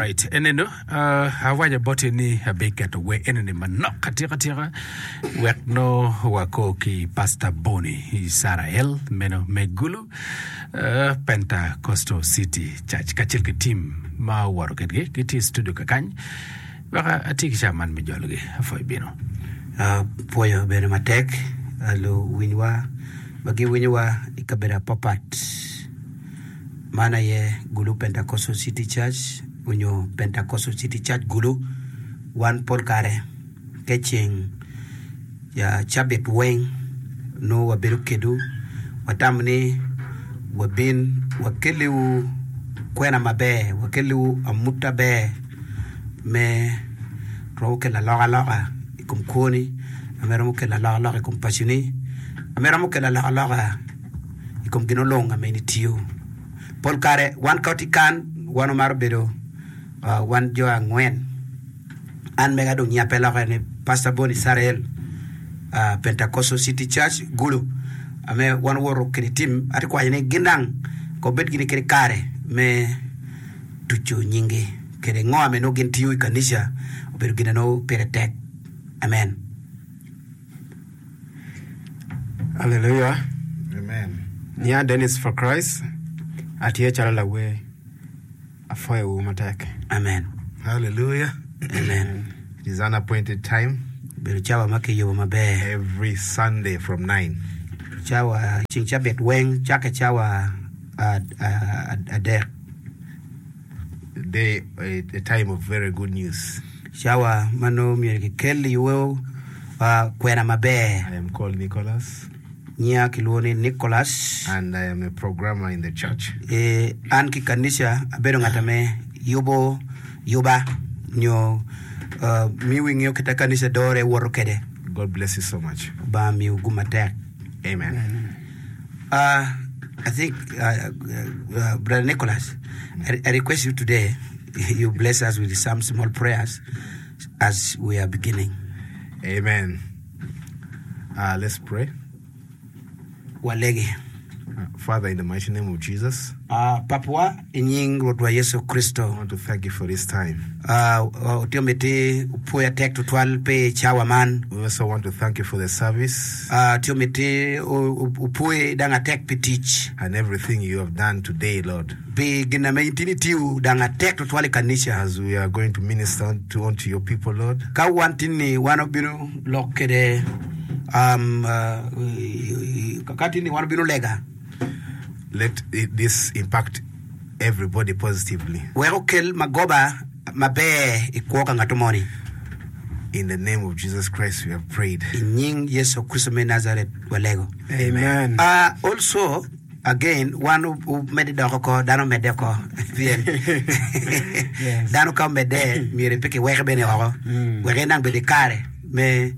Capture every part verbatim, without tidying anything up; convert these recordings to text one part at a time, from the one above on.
Alright, eneno uh, awaco boti ni abiketo wer enini manok atika tika wek no wako ki Pastor Boni Israel meno me Gulu uh, Pentecostal City Church kacel ki team ma owoto kedgi gitye i studio kakany wek atye ki ca man me jologi apwoyo bino. Uh, pwoyo bene matek uh, luwinywa ma giwinyowa i kabedo apapat man aye Gulu Pentecostal City Church onyo Pentecostal City Church Gulu wan pol kare ke ceng ya cabit weng nongo wabedo kedu watamo ni wabin wakeliwu kwena maber wakeliwu amut aber me romo kelo alokaloka i kom kwoni ame romo kelo alokaloka i kom paconi ame romo kelo alokaloka i kom gin olong ame in itiyo pol kare wan ka watye kan wan omaro bedo uh, wan jo angwen an mega dong nyinga pe loke ni Pastor Boni Israel uh, Pentecostal City Church Gulu ame wan woto kede team ati kwayo ni gin dang ko bed gini kede kare me tuco nyingi kede ngo ame nongo gin tiyo i kanica obedo gin nongo pire tek amen Hallelujah. Amen. Nyinga Dennis for Christ. Atye calo lawer. Apwoyowu matek. amen Hallelujah. amen It is an appointed time bedo cawa ma kiyubo maber every Sunday from nine. cawa ceng cabit weng cake cawa ad- ad- adek Day, a, a time of very good news. cawa ma nongo myero kikel iwu uh, kwena maber I am called Nicholas nyinga kilwongo ni Nicholas and I am a programmer in the church. e, an ki kanica abedo ngat ame yubo yuba nyo uh, miyo ing'eyo kita kanica dore woto kede God bless you so much. Obanga miyo gum matek Amen. Uh, I think, uh, uh, Brother Nicholas, I, I request you today, you bless us with some small prayers as we are beginning. Amen. Uh, let's pray. Walegi. Uh, Father, in the mighty name of Jesus, Uh, Papwa, i nying Rwotwa Yesu Kristo. I want to thank you for this time. Uh, otio miti upwoya tek tutwal pi cawa man. We also want to thank you for the service Uh, tio miti upwoye dang atek pi tic. and everything you have done today, Lord. Pi gin ame in tin itiyo dang atek tutwal i kanica. As we are going to minister to unto your people, Lord, Ka wan tin ni wan obino lok kede um, uh, ka tin ni wan obino lega. let it, this impact everybody positively. Wek okel magoba maber i kwo ka ng'ato moni. In the name of Jesus Christ, we have prayed. I nying Yesu Kristo me Nazaret walego. Amen. Uh, also, again, wan omedde doko ko, dano omedde oko. Pien Yes. dano ka omedde, myero pe kiweke bene oko. Wek en dang bed i kare me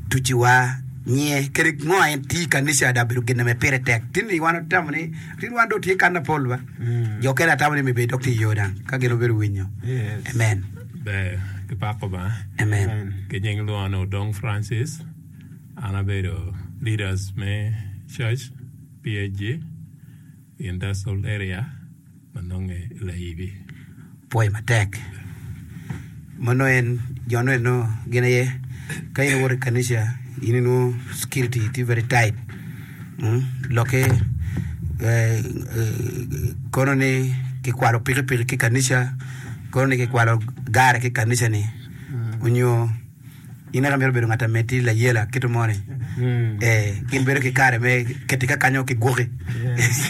tuciwa nye kede ngo en ti i kanica da bedo gin ame pire tek. Tin ni wan otamo ni, tin wan do tye kan na pol ba. Jo kene atamo ni mi bed dok tye i yo dang, ka gin obedo winyo. Yes. Amen. Ber ki pako ba Amen. Amen. ki nying lwongo ni Odong Francis an abedo leaders me church P H G industrial area ma nonge i Layibi. Pwoyo matek. Mano en jo no eno gin aye ka in iwoto i kanica in inwongo security tye very tight. Mm? Lokke eh, eh, kono ni kikwalo pikipiki ki kanica, kono ni kikwalo gare ki kanica ni onyo in eka mito bedo ngat ame tye layela kito moni Mm. eh, gin bedo ki kare me keti ka kanyo ki gwoki. Yes.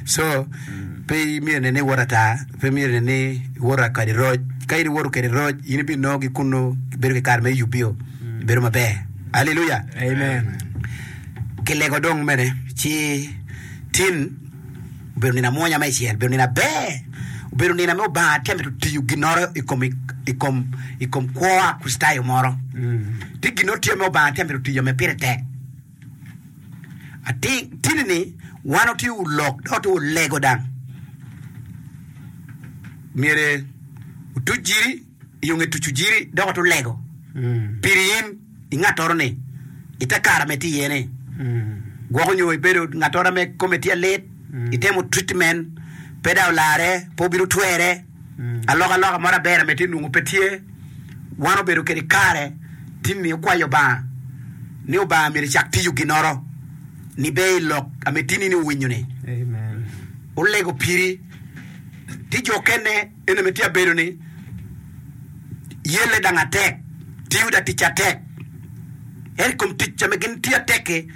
So pe myero nen ni iwoto ata, pe myero nen ni iwoto kadi roc. Ka in iwoto kede roc, in ibinongo ki kuno bedo ki kare me yubio, bedo maber. Hallelujah. Amen. Kilego dong mene ci tin obedo nino amwonya me icel, obedo nino aber, obedo nino ame Obanga tye mito tiyo ginoro i kom i kom i kom kwo a Kricitayo moro. Tye gino tye me Obanga tye mito tiyo me pire tek. Ati tini ni wan otye ulok dok otye ulego dang. Myere otuc jiri, iyo nge tucu jiri dok otu lego. Piri in i ngatoro ni ite kare ame tye iye ni. Gwoko nyo ibedo ngatoro ame kome tye alit, itemo treatment Pe dong olare, pe obino twere. Alokaloka moro aber ame tye nongo pe tye. Wan obedo kede kare tinni okwayo Obanga ni Obanga myero ecak tiyo ginoro ni be i lok ame tinni ni owinyo ni. Olego piri. Ti jo okene en ame tye abedo ni yelle dang atek, tiyo da tic atek. Ento i kom tic ame gin tiyo atek-ki,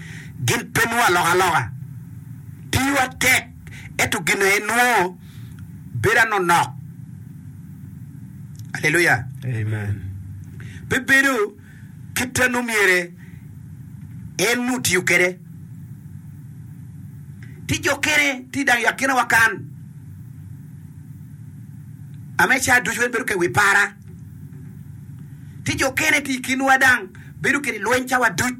gin pe nongo alokaloka. Tiyo atek ento gin aye nongo bedo anonok. Aleluya! Amen. Pe bedo kit ma nongo myere en nongo otiyo kwede. Ti jo kene ti dang i akina wa kan. Ame ca ducu en bedo ka i wi para. Ti jo kene ti i kinwa dang bedo kede lweny cawa duc.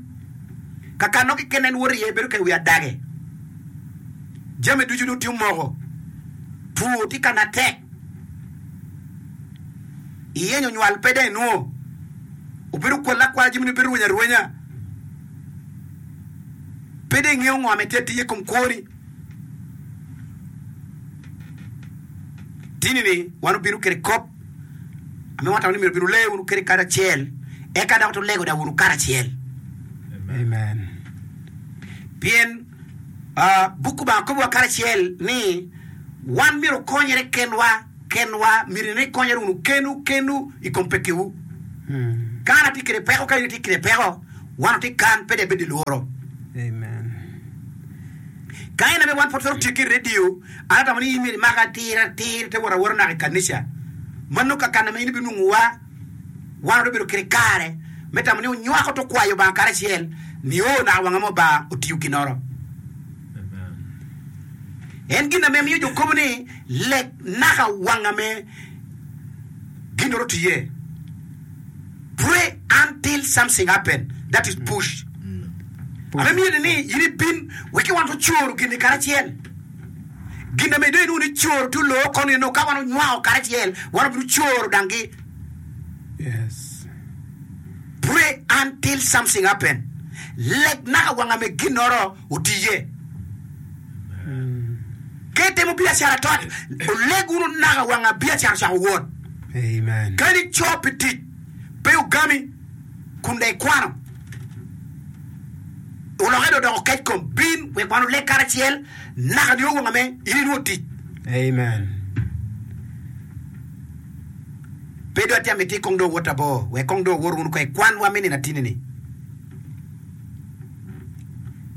Kakano keken en woto iye bedo ka i wi adage. Jami ducu dong tye omoko. Two tye ka natek. Iyenyo nywal pe dong inwo. Obedo kwal akwala jami dong bedo rweny arwenya. Pe dong ingeyo ngo ma itye atiya i kom kwoni. Tini ni wan obino kede kop ame wan tamo ni myero obin wule wunu kede karacel eka dok tulego da wunu karacel. Amen. Pien buk Lubanga kobowa karacel ni wan myero okonyere kenwa kenwa, myero ni ikonyere wunu kenwu kenwu i kom pekkiwu. Ka an atye kede peko, ka in itye kede peko, wan watye kan, pe dong ibed i lworo. Amen. Ka en aye wan pud twero tiyo ki redio, an atamo ni in myero imaka atir atir te wot awota naka i kanica. Ma nongo kakana ma in ibinongowa, wan wabibedo kede kare me tamo ni onywako to kwayo Lubanga karacel nio naka wanga ma Lubanga otiyo ginoro. En gin ame miyo jo kobo ni leg naka wanga me ginoro otiye. Pray until something happen, that is push. Ame miyo ni in ibin wek wan ocoro gin-ni karacel. Gin ame dong inongo ni coro tye oloo koni nongo ka wan onywako karacel wan obino coro danggi. Yes. Pray until something happen. Leg naka wanga me ginoro otiye. Ka itemo biacara tot, oleg wunu naka wanga biacara ocako wot. Amen. Kadi ico pi tic pe ogami kun dong ikwano, olokke dong odoko kec kom, bin wek wan oleg karacel naka nio wanga me in inwongo tic. Amen. Pe dong atye amiti kong dong owot abor, wek kong dong owot wunu kong i kwanwa me nino atinni-ni.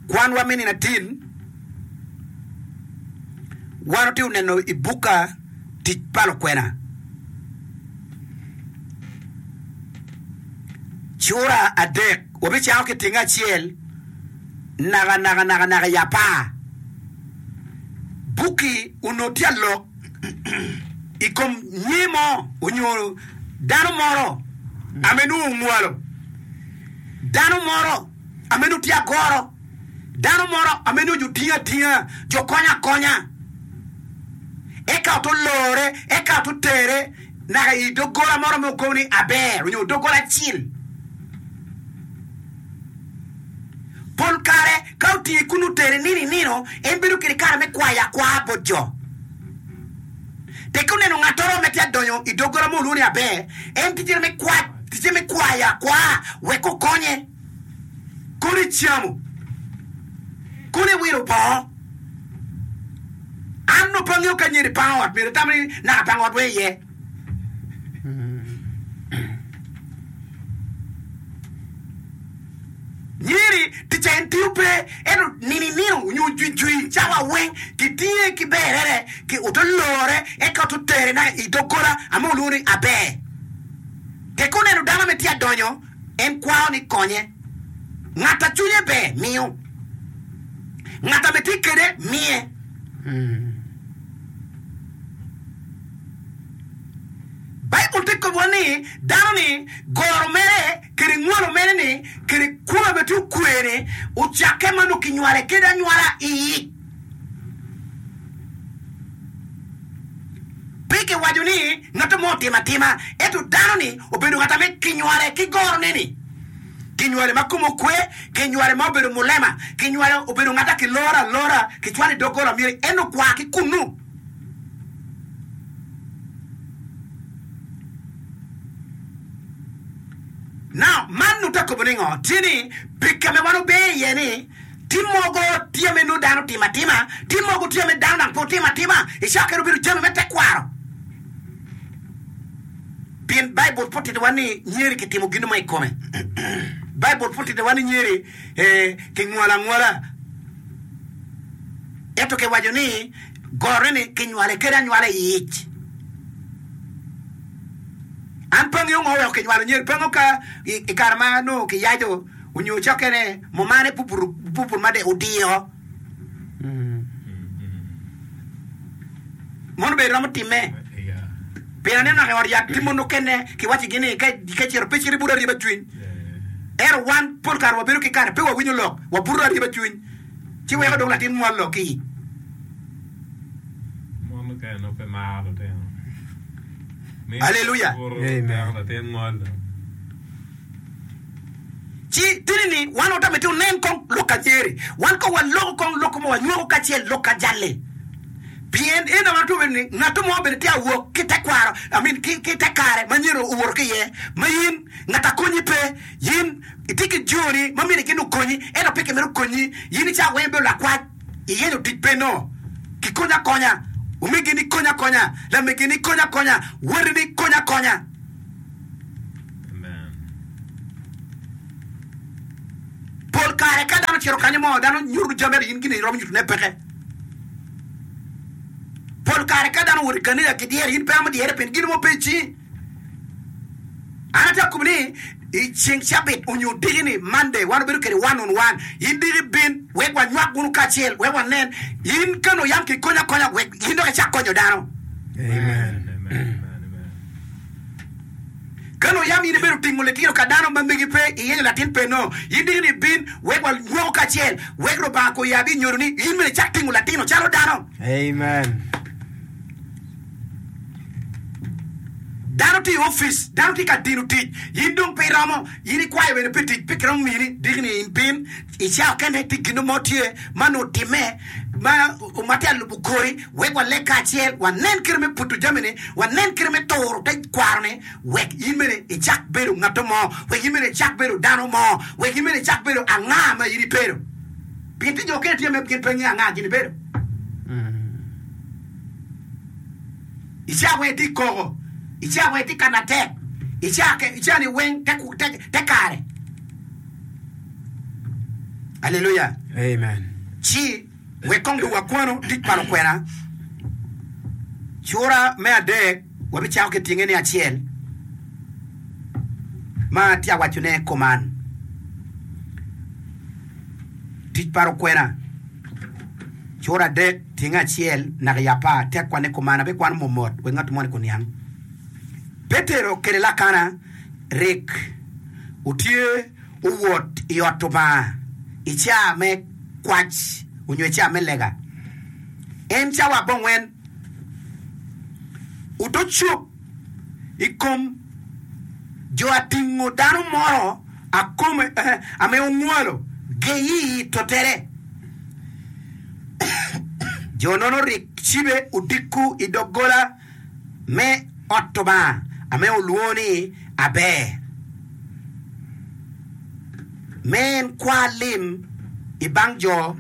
Kwanwa me nino atin, wan watye neno i bukka Tic pa Lukwena. Cura adek, wabicako ki tyenge acel naka naka naka naka i apar. Bukki onongo tye alok i kom nyer mo onyo dano moro ame nongo ongwalo, dano moro ame nongo tye agoro, dano moro ame nongo jo tingo atinga, jo konyo akonya. Eka oto lore, eka oto tere naka i doggola moro ma okobo ni Aber onyo doggola acil. Pol kare ka otinge kun otere nino i nino, en bedo kede kare me kwayo akwa bot jo. Teke oneno ngattoro me tye adonyo i doggola mo olwongo ni Aber, en ticce me kwac, ticce me kwayo akwa wek okonye. Kono icamo, kono iwilo bongo. An nongo pe angeyo ka nyeri pango ot, myero itamo ni naka pango ot weng iye. Nyeri ticca en tiyo pe, ento nino i nino onyo jwijwi cawa weng kitinge ki berere ki oto lore eka oto tere naka i doggola ame olwongo ni Aber. Teke oneno dano ame tye adonyo, en kwao ni konye. Ngat a cwinye ber miyo, ngat ame tye kede miye. Baibul tye kobowa ni dano-ni goro mere kede ngwalo mere ni kede kwo ma tye okwe-ni ocakke ma nongo kinywale kede anywala i ic. Pe kiwaco ni ngat mo otimo atima, ento dano-ni obedo ngat ame kinywale ki gorone-ni. Kinywale ma kome okwe, kinywale ma obedo mulema, kinywale obedo ngat a kiloro alora, kicwalo i doggola myero en okwa ki kunnu. kobo ni ngo? Tye ni pika me wan obe iye ni tye mogo tye me nongo dano timo atima, tye mogo tye me dano dang pe otimo atima, i cawa kene obedo jami me tekwaro. Pien Baibul pe otitowa ni nyeri kitimo gin mo i kome. Baibul pe otitowa ni nyeri eh, kingwalo angwala. Ento kiwaco ni gorone-ni kinywale kede anywala i ic. An pe angeyo ngo oweko kinywalo nyeri. Pe angeyo ka i kare ma nongo kiyaco onyo cokkene mumane puputu made odiyo. Mono bene romo timme. Pien aneno naka i ot yat tye mon mukene kiwacigi ni ka icito pe icit ibuto aryeba cwiny. Ento wan pol kare wabedo ki kare pe wawinyo lok, wabuto aryeba cwiny ci weko dong latin mwal lok ki ic. Mon mukene nongo pe maro lutino. Aleluya! Buto weko latin ngolo. Ci tini ni wan wata miti wunen kong lok ka nyeri. Wan kong waloko kong lok mo wanywako kacel lok ka jali. Pien en aye watwero bedo ni ngat mo bene tye awok ki tekwaro, I mean, ki, ki tekare ma nyeri owoto ki iye, ma in ngat akonyi pe. In itye ki joni ma myero gin okonyi, ento pe kimito konyi. In i cawa weng ibedo lakwac, iyenyo tic pe nongo. Kikonyo akonya, omegini konyo akonya, lamegini konyo akonya, watini konyo akonya. Amen. Pol kare ka dano ocito kanyo mo, dano nyuto jami ento in gin iromo nyutone peke. Pol kare ka dano owoto i kanica kidyere, in pe iromo dyere pien gin mo pe i cingi. An atye akobo ni i ceng cabit onyo diki ni Monday wan wabedo kede one on one. In diki bin wek wanywak wunu kacel wek wanen in ka nongo yam kikonyo akonya wek in dok icak konyo dano. Amen. Amen. Amen. Amen. Ka nongo yam in ibedo tingo litino ka dano ma megi pe, iyenyo latin pe nongo, in diki ni bin wek wanywako kacel, wek Lubanga koyabi i nyodo ni in bene icak tingo latino calo dano. Amen. Dano tye i opic, dano tye ka dino tic, in dong pe iromo, in ikwayo bene pi tic, pe kiromo mini, diki ni in bin i cawa kene tye gin mo tye ma nongo otimme ma ma tye ka lubo kori wek waleg kacel, wanen kite me puto jami-ni, wanen kite me turo te kwaro-ni wek in bene icak bedo ngat mo, wek in bene icak bedo dano mo, wek in bene icak bedo anga ma in ibedo. Pien tye jo mukene tye ma gin pe ngeyo anga gin ibedo. I cawa weng itye koko, i cawa weng itye ka natek, i cawa ni weng te kare. Aleluya! Amen. Ci wek kong dong wakwanu tic pa lukwena. Cura me adek wabicako ki tyenge ni acel ma atye ka wacone kuman. Tic pa lukwena. Cura adek tyenge acel naka i apar tek kwane kuman abikwano mot wek ngat moni kuniang. Petero kede Lakana rik otye owot i ot Lubanga i caa me kwac onyo i caa me lega. En cawa abongwen oto cop i kom jo atingo dano moro akome ame ongwalo geyi i totere. Jo nono rik cibe odiko i doggola me ot Lubanga ame olwongo ni Aber, me en kwa lim i bang jo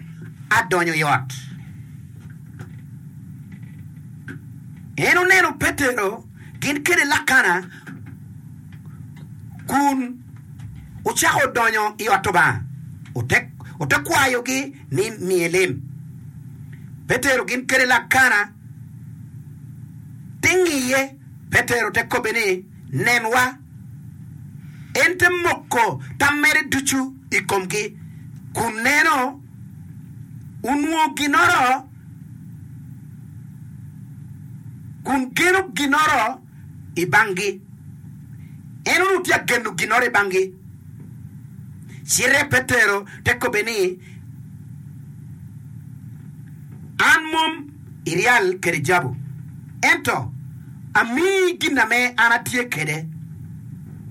adonyo i ot. En oneno Petero gin kede Lakana kun ocako donyo i ot Lubanga, ote kwayogi ni miye lim. Petero gin kede Lakana te ngiye, Petero te kobbe ni, Nenwa. En te moko tam mere ducu i komgi, kun neno onwongo ginoro, kun geno ginoro i banggi. En onongo tye ka geno ginoro i banggi. Cite Petero te kobbe ni, An mom i ryal kede jabu, ento amiyi gin ame an atye kwede.